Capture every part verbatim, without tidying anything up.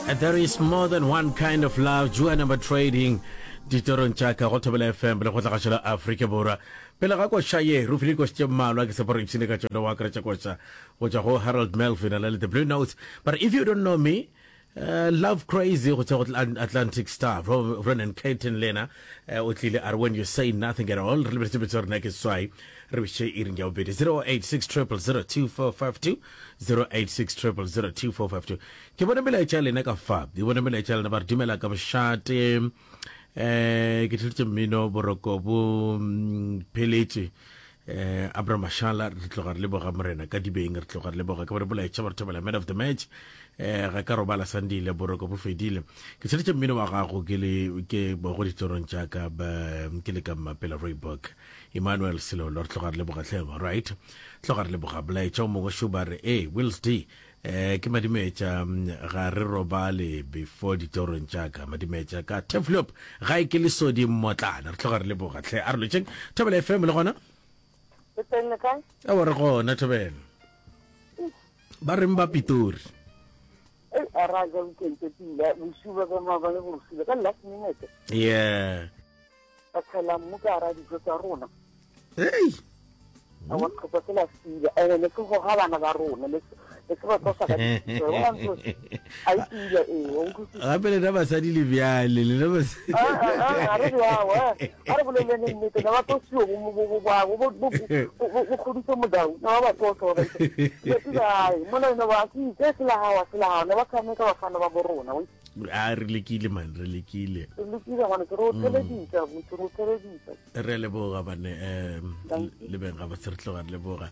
There is more than one kind of love. Joanna number trading ditorong tša ka go Thobela F M le go tlagašo la Afrika Borwa. Pele ga koša ye, re file dikoša tše mmalwa ke tshepa gore ipshine ka tšona, o akaretša koša go tšwa go Harold Melvin a le The Blue Notes. But if you don't know me, uh, Love Crazy go tšwa go Atlantic Star, Ronan Keating le yena uh, o tlile a re When You Say Nothing at All. Re lebeletse betso rena ke swai re biše iring ya bobedi, zero eight six zero zero two four five two, zero eight six zero zero two four five two. Ke bone melaetša ya lena ka fa, ke bone melaetša ya lena. Ba re dumela ka bošate, um ke theletše mmino, boroko bo mm, pheletše. um Abraham Mashala, re tloga re leboga morena ka dibeng, re tloga re leboga. Ke bone molaetša, ba re thobela, man of the match, um ga ka robala Sandile, boroko bo fedile, ke theletše mmino wa gago ke le ke go ditorong tša ka, ke le ka Mmapela Rooiberg, Emmanuel Selolo, re tloga re leboga tlhebo. Right, tloga re leboga. Molaetša o mongwe šo, ba re e Wills D, eh ke Madimetša, ga re robale before ditorong tša ka, Madimetša ka Teflop ga e ke lesodi mmotlana, re tloga re leboga tlhe. A re lotšeng Thobela F M le gona. Le teng, le kae? Awa, re gona Thobela. Ba reng ba Pitori? Ei, a ra ja weekend tse pila, bosiu ba ka maabane bosiu ka last minute. Yeah. Ba tshela mmu ka hara dijo tsa rona. Hey. Awa, tlhopha se la sile. Ene le se goga bana ba rona, le le se ba tlosa ka ditso. Wa ntse a e pila ee, wa utlwisisa. Gape lena basadi le bjale, lena basadi. Ah, ah, ah, a re bjao, eh. A re boleleng nnete, ne ba tlosiwe bo bo bo bo bo bo bo bo kgodise modau, ne ba ba tlosa ba ba isa. Le pila mola ene ba ke itse se la hawa se la hawa, ne ba tshameka bafana ba bo rona. Wa A re lekile man, re lekile. Re lekile ngwane, ke re o theleditsa, botse re o theleditsa. Re a leboga bane, um Thank you. le beng ga botse, re tloga re leboga.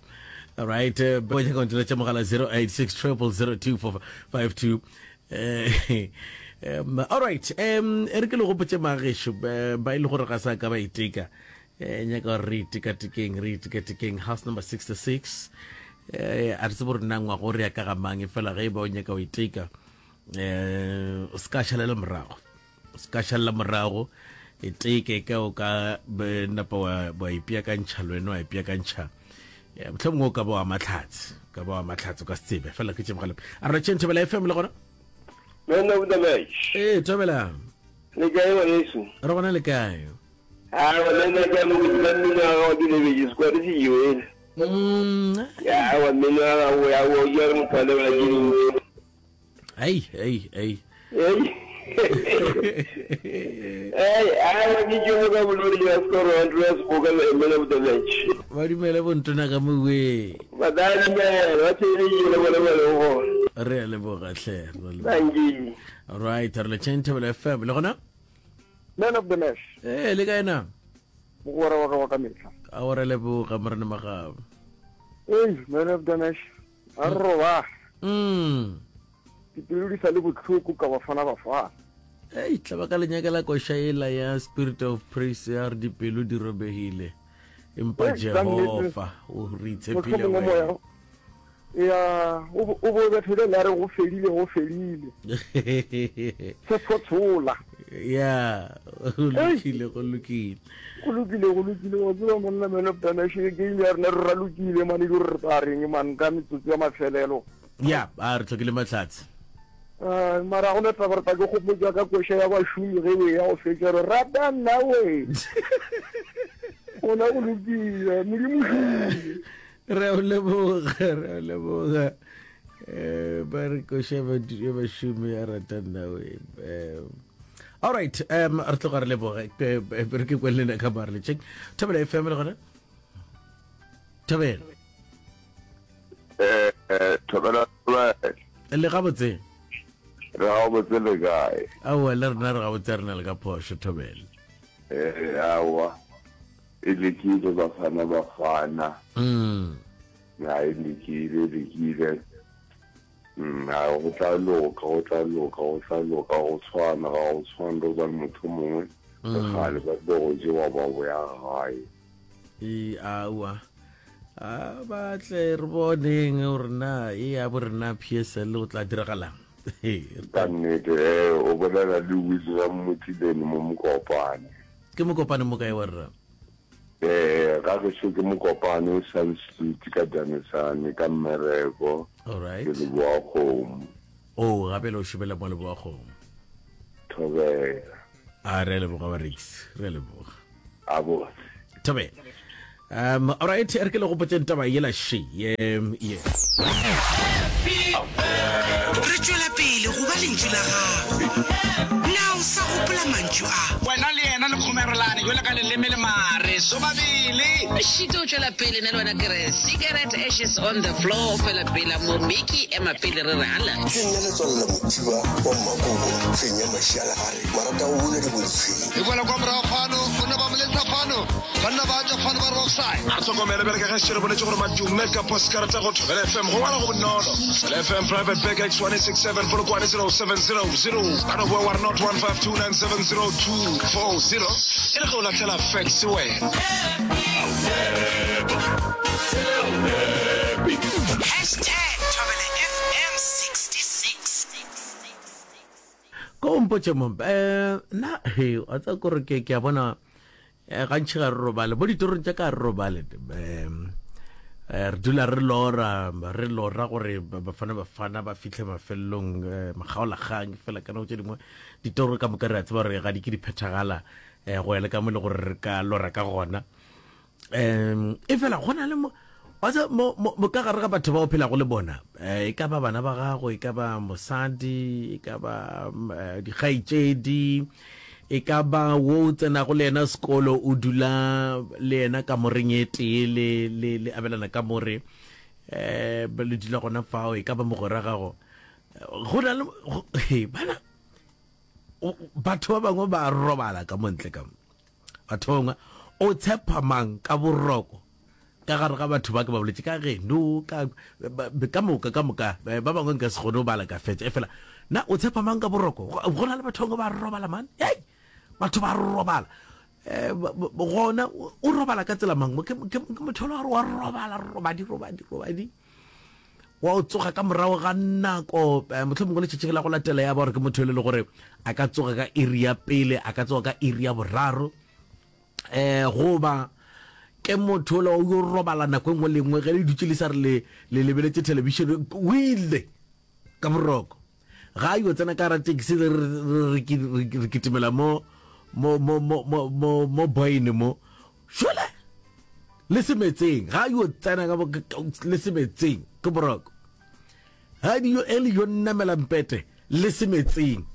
Right, bo nyaka go nteletša mogala zero eight six zero zero two four five two. eh um all right, um e re ke le gopotse magešo, eh, ba e le gore ga sa ka ba iteka, eh nyaka gore re itekatekeng, re itekatekeng house number sixty-six. eh a re tsebe gore nna ngwago re ya ka ga mang, e fela ge e ba o nyaka o iteka, eh o se ka šalela morago, o se ka šalela morago, e teke ka o ka be napa wa wa ipeakantšha le wena, wa ipeakantšha. Eh, mohlomongwe o ka ba wa mahlatse, o ka ba wa mahlatse, o ka se tsebe fela ke tše mogale. A re tšeng Thobela F M le gona. Man of the match. Ee, Thobela. Le kae, ngwaneso? Re gona, le kae? Awa, le nna ke a mo ka mmino wa gago ke lebetse sekwadi se jewele. Mm, Awa, mmino wa gago ya o ke re motho a lebala ke dintsi. Ei ei ei. Ei. Ei, awa, ke tšomo ka bolodi ya score one ya seboka le man of the match. Ba dumele bontona ka mowe. Ba tla dumela, ba theleditše le bone ba leng gona. Re a leboga hle, re a leboga. Thank you. Right, re le tšeng Thobela F M le gona. Man of the match. Ee, le kae na? Mogwera wa ka wa ka mehla. A o re leboga morena Magabo. Ei, man of the match, a re roba. Mm dipelo di sa le bohloko ka Bafana Bafana. Ei, tla ba ka lenyakela koša ela ya Spirit of Praise ya re dipelo di robegile, empa Ei, ka nnete. Jehova o re itshepile mohlomongwe moya wena. Ya o bo o bo bethele la re go fedile, go fedile, se phothola. Ya, go lokile, go lokile. Go lokile, go lokile. Wa tseba monna, man of the match, game ya rena re ralokile mane, di re tla reng man ka metsotso ya mafelelo? Ya, a re tlhokile mahlatse. Ah, mara go ne taba re tla ke gopotsa ka koša ya bašomi ge we ya go fetša re rata nna we gona. Go lokile, Modimo šomile. Re a o leboga, re a o leboga. um ba re koša ya bašomi ya rata nna we. um all right, um re tloga re leboga. Eh, eh, re ke kwe lena ka bare le check Thobela F M le gona, Thobela. Eh, eh, Thobela. Le gabotse? Re gabotse, le kae? Aowa, le rena re gabotse, re na le ka phošo, Thobela. Eh, awa. E lekile Bafana Bafana. Mm Ya, e lekile, e lekile. Mm, a go tla loka, go tla loka, go tla loka, go tshwana, ga go tshwane le gobane motho mongwe re kgale ba tlo go jewa ba boya gae. E aowa, a ba tle re boneng gore na e ya bo rena P S L go tla diragalang. Ka nnete, eh, o bolela le William Motileni mo Mokopane. Ke Mokopane mo kae wa rra? Eh, ga gešo ke Mokopane Sun Street ka Danesane ka mmereko. Alright. Ke leboa kgomo. O gape le o šomela mo leboagong. Thobela. A re a leboga ba Rix, re a leboga. A botse. Thobela. Um, all right, re ke le gopotšeng taba yela she. Um, yeah. Re tšwela pele go ba lentšu la gago. Na o sa gopola mantšu a? Wena le yena le kgomerelane bjalo ka leleme le mare sobabele. Šito o tšwela pele nna le wena ke re cigarette ashes on the floor fela pela mo Mickey ema pele re re hala. Ke nna Letswalo la Mothiba wa Mmakobo, fenya mašialagare, marata go buna dibolefeng. E boela kwa morago fano, banna ba moletsa fano, banna ba tšwa fano ba re offside. A re hlokomele bjale ka ge šetše re boletše gore madume ka poskarata go Thobela F M go ngwala go bonolo. Thobela F M Private Bag X one eight six seven Polokwane zero seven zero zero. Ka no boa wa re not one five two nine seven zero two four zero e le ge o lahlela fax wena. Hashtag Thobela F M sixty six. Ko mpotše mo, eh, na he, wa tseba kore ke, ke a bona, eh, gantši ga re robale, bo ditorong tša ka re robale, eh, eh, re dula re lora, re lora gore bafana bafana ba fihle mafelelong, eh, makgaolakgang, fela ka nako tše dingwe ditoro ka moka re a tseba gore ga di ke di phethagala, eh, go ya le ka mo le gore re ka lora ka gona. Um, e fela go na le mo, wa tseba, mo, mo, mo ka gare ga batho ba o phelago le bona, eh, e ka ba bana ba gago, e ka ba mosadi, e ka ba, eh, dikgaetšedi, e ka ba wo o tsenago le yena sekolo, o dula le yena kamoreng e tee, le, le, le abelana kamore, eh, le dula gona fao, e ka ba mogwera gago. Go na le, go, he, bana, o, batho ba bangwe ba robala ka mo ntle ka mo. Batho ba bangwe, o tshepa mang ka boroko ka gare ga batho ba ke ba boletše ka geno, ka, ba, ka moka, ka moka, ba bangwe nka se kgone go bala ka fetša. Efela, na o tshepa mang ka boroko? Go, go na le batho ba bangwe ba robala man. Hei, batho ba robala. Eh, ba, ba, gona, o, o robala ka tsela mang? Ke, ke, ke motho wa wa robala, robadi, robadi, robadi. Wa o tsoga ka morago ga nako, eh, mohlomongwe letšatši la go latela ya ba gore ke motho e le gore a ka tsoga ka iri ya pele, a ka tsoga ka iri ya boraro. Eh, goba ke motho ola o yo robala nako e nngwe le nngwe ge le dutše le sa re le, le lebeletše television, o ile ka boroko. Ga a yo tsena ka gara taxi re, re, re, re, re, re kitimela mo, mo, mo, mo, mo, mo, mo boyne mo. Šole le semetseng, ga a yo tsena ka bo, ka, ka, le semetseng ke boroko. Ga di yo, e le yo namela mpete le semetseng,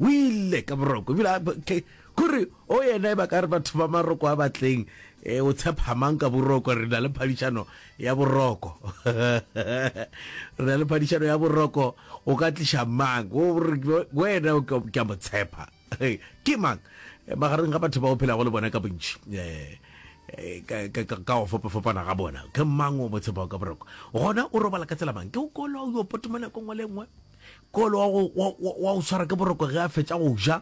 o ile ka boroko. Ebile a, ke, kore o yena e ba ka re batho ba maroko a batleng, eh, o tshepa mang ka boroko? Re na le phadišano ya boroko. Re na le phadišano ya boroko, o ka tliša mang? O re, wena o ke, ke a mo tshepa. Ke mang? Magareng ga batho ba o phelago le bona ka bontši, eh, eh, ka, ka, ka, ka go fapafapana ga bona, ke mang o mo tshepago ka boroko? Gona o robala ka tsela mang? Ke o kolo o yo potoma nako nngwe le nngwe? Ke olo wa go, wa, wa, wa go swara ke boroko ge a fetša go ja?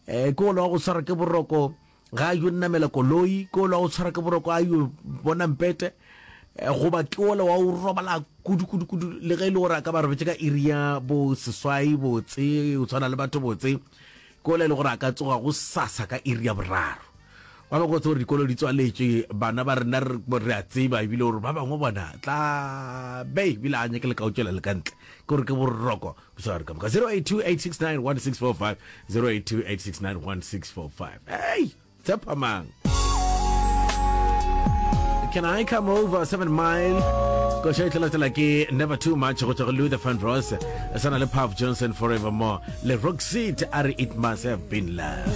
Eh, ke olo wa go swara ke boroko ga a yo namela koloi? Ke olo wa go swara ke boroko a yo bona mpete? Eh, goba ke olo wa go robala kudu, kudu, kudu, le ge e le gore a ka ba robetše ka iri ya bo seswai botse, o tshwana le batho botse, ke ola e le gore a ka tsoga go sasa ka iri ya boraro. Ba bangwe go tseba gore dikolo di tswaletšwe, bana ba rena re, re a tseba ebile gore ba bangwe bona tla be ebile a nyake le ka o tšwela le ka ntle, ke gore ke boroko bosegare ka moka. zero eight two eight six nine one six four five, zero eight two eight six nine one six four five. Hey, tshepa mang? Can I come over seven mile? Koša e tla latela ke Never Too Much go tšwa go Luther Vandross, e sana le Puff Johnson Forevermore le Roxette a re It Must Have Been Love.